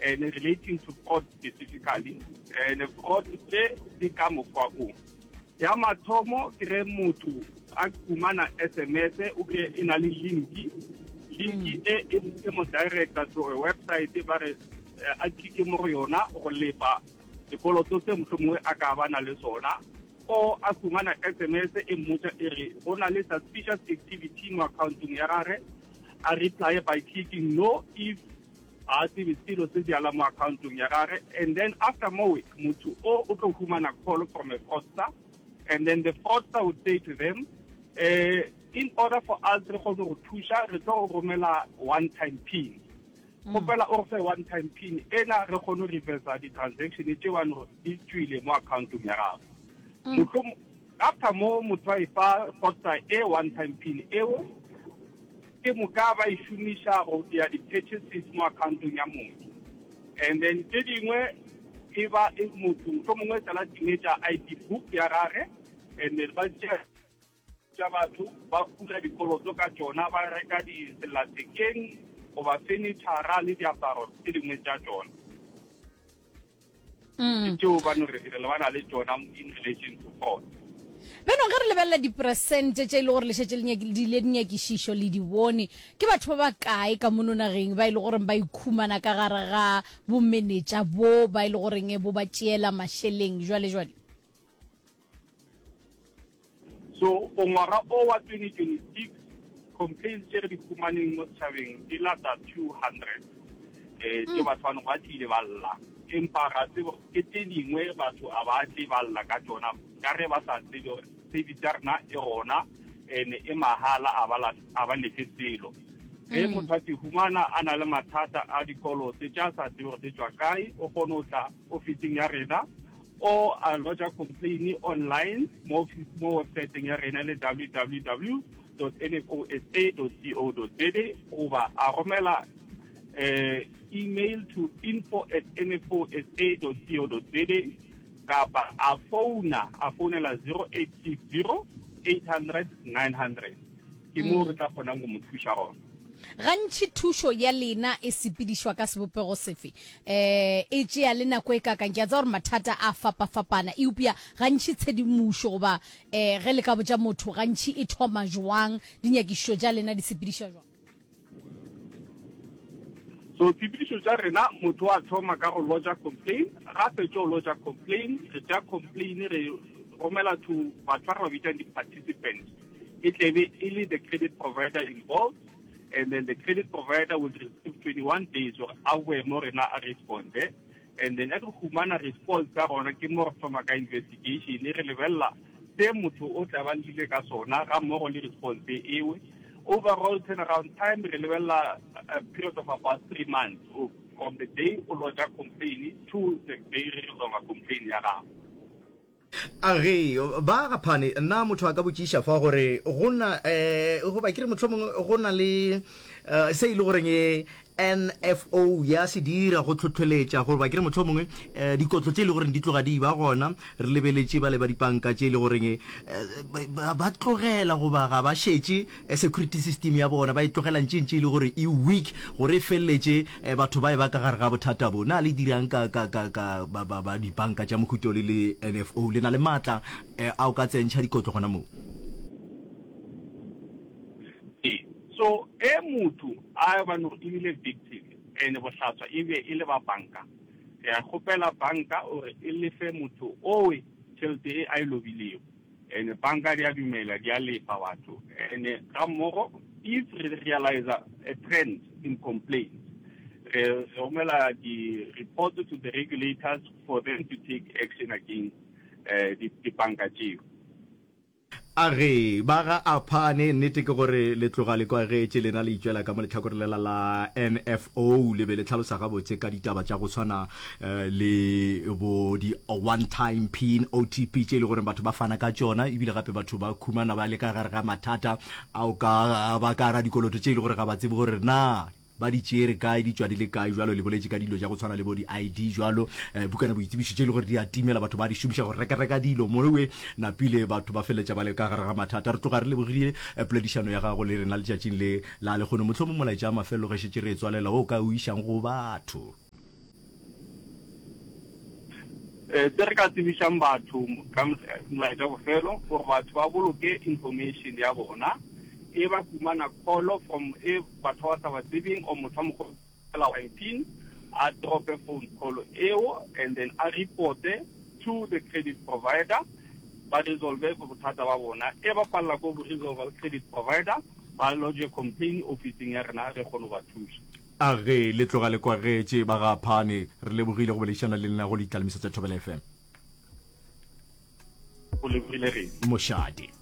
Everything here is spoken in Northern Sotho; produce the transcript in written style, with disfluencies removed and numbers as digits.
And relating to fraud specifically, and fraud tše di ka mokgwa o. Ya mathomo ke ge motho a humana SMS o kry e na le linki, linki e e mo directa to a website ba re eh, a click mo go yona go lefa sekoloto se mohlomongwe a ka ba na le sona o a humana SMS e mmotsa e re go na le suspicious activity mo accountong ya gage a reply by clicking no if ga a tsebe selo se bjala mo accountong ya gage and then after mowe motho o o tlo humana call from a fraudster and then the fraudster would say to them uh, in order for us re kgone go thuša re tlo go romela one time pin mm. kgopela o re fe one time pin ena re kgone go reversa di-transaction tše bane di tswile mo accountong ya gago mm. After mo motho a efa fraudster e one time pin eo, ke moka ba e šomiša go dira di-purchases mo accountong ya motho. And then tše dingwe e ba e motho mohlomongwe sala timetša ID book ya gage and then ba tšea tša batho ba bula dikoloto ka tšona ba reka disellathekeng goba furniture le diaparo tše dingwe tša tšona. Mm. Ke tšeo ba no re re lebana le tšona in relation to fraud. Beno ge re lebelela diperesente tše e le gore le šetše le diile dinyakišišo le di bone, ke batho ba ba kae ka mono nageng ba e le goreng ba ikhumana ka gare ga bomenetša bo ba e le goreng bo ba tšeela mašeleng jwale jwale? So for ngwaga o wa 2026 complaints tše re di humaneng mo setšhabeng di lata 200 eh tše batho ba ba tlile ba lla empa ga tsebo ke tše dingwe batho a ba tle ba lla ka tšona ka ge ba sa tsebe gore service ya rena e gona ene e mahala a ba a ba lefe selo ge mm. motho a te humana a na le mathata a dikoloto tša sa tsebe gore di tšwa kae o kgone go tla ofising ya rena o a lodger complain online mo mo websiteng ya rena le www nfosa co za goba a romela eh, email to info at nfosa co za kapa a founa a founela 0860 800 900 ke moo re tla kgonang go mo thuša gona. Gantši thušo ya lena e sepedišwa ka sebopego sefe? Um e tšea le nako e kaakang? Ke a tseba gore mathata a fapafapana, eupša gantši tshedimošo goba um ge le ka botša motho gantši e thoma jwang? Dinyakišišo tša lena di sepedišwa jwang? So tshepedišo tša rena, motho wa thoma ka go lodger complain, ga fetša go lodger complain, re tšea complain re romela to batho ba re ba bitsang di-participants. E tlebe e le the credit provider involved and then the credit provider will receive 21 days gore a boe mo rena a responde and then re humana response ka gona ke mo re thoma ka investigation re lebelela se motho o tla ba llile ka sona ga mmogo le response ewe overall turnaround time re lebelela a period of about three months from the day o lodger complain to the day re resolve complain ya gago. A ge, ba ga Phane, na motho a ka botšiša fa gore go na, eh, goba ke re mohlomongwe go na le eh, se e le goreng e NFO ya se dira go hlohleletša, goba ke re mohlomongwe eh, dikotlo tše e le goreng di tloga di ba gona, re lebeletše ba le ba dipanka tše e le goreng eh, ba, ba tlogela goba ga ba šetše security system ya bona, ba e tlogela ntše ntše e le gore e weak gore e feleletše batho ba e ba ka gare ga bothata bo. Na le dirang ka, ka, ka, ka ba, ba, ba dibanka tša mohuta o le le NFO? Le na le maatla a o ka tsentšha dikotlo gona moo? Ee. So ge motho a ba no e bile victim and bohlaswa e be e le ba banka, re a kgopela banka gore e lefe motho owe tšhelete e a e lobilego. And banka di a dumela, di a lefa batho. And ga mmogo if re realize a trend in complaints, re romela di report to the regulators for them to take action against eh, dibanka tšeo. A ge, ba ga Aphane, nnete ke gore le tloga le kwagetše, lena le itšwela ka mo lehlakoreng lela la NFO, le be le hlalosa gabotse ka ditaba tša go swana le bo di one time pin, OTP, tše e le gore batho ba fana ka tšona, ebile gape batho ba khumana ba le ka gare ga mathata ao ka ba ka gara dikoloto tše e le gore ga ba tsebe gore na ba di tšere kae, di tšwa di le kae. Jwalo le boletše ka dilo tša go tshwana le bo di ID jwalo, eh, bukana boitsebišo tše e le gore di a timela, batho ba di šomiša go rekareka dilo mowe napile batho ba feleletša ba le ka gare ga mathata. Re tloga re lebogile eh, poledišano ya gago le rena letšatšing le la lehono. Mohlomong molaetša wa mafelelo ge šetše re e tswalela wo o ka o išang go batho. Se re ka tsebišang batho ka molaetša bofelo gore batho ba boloke information ya bona e ba humana call from e batho ba sa ba tsebeng or motho a mo kgopela wa pin a drope phone call eo and then a reporte to the credit provider ba resolve bothata ba bona e ba palela ko go resolve le credit provider ba lodge complaint officing ya rena re kgone go ba thuša. A ge le tloga le kwagetše ba ga Phane, re lebogile go boledišana le lena go Ditlalemiso tša Thobela FM. Go lebogile rena. Mošate.